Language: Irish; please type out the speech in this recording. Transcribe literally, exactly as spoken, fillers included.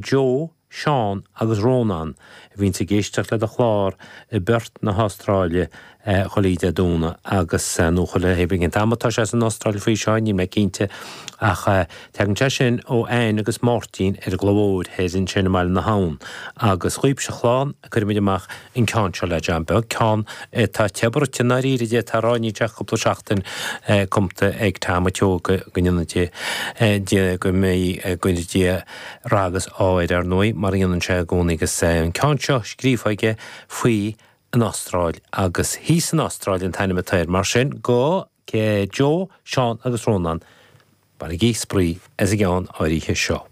Joe, Seán agus Rónán a bhíonns ag éisteacht le do chlár i bPerth na hAstráile chuile Dé Domhnaigh agus nó chuile thaobh cén t-am atá sé san Astráil faoi seo, níl mé cinnte ach tagann sé sin ó Anne agus Máirtín ar an gCloich Mhóir thoir ansin i mBaile na hAbhann agus dhaoibhse a chlann cuirimid amach an ceann seo le John Beag, ceann atá te bruite i ndáiríre d'fhéadfá a rá, níl sé ach cúpla seachtain cumta ag Tom an tSeoighe go ndéana Dia go mbeidh go gcuire Dia rath agus ádh air ar ndóigh mar a dhéanann sé i gcónaí agus an ceann seo scríofa aige faoi an Astráil agus Thíos san Astráil an t-ainm atá air mar sin go Joe, Seán agus Rónán bainigí spraoi as an gceann áirithe seo.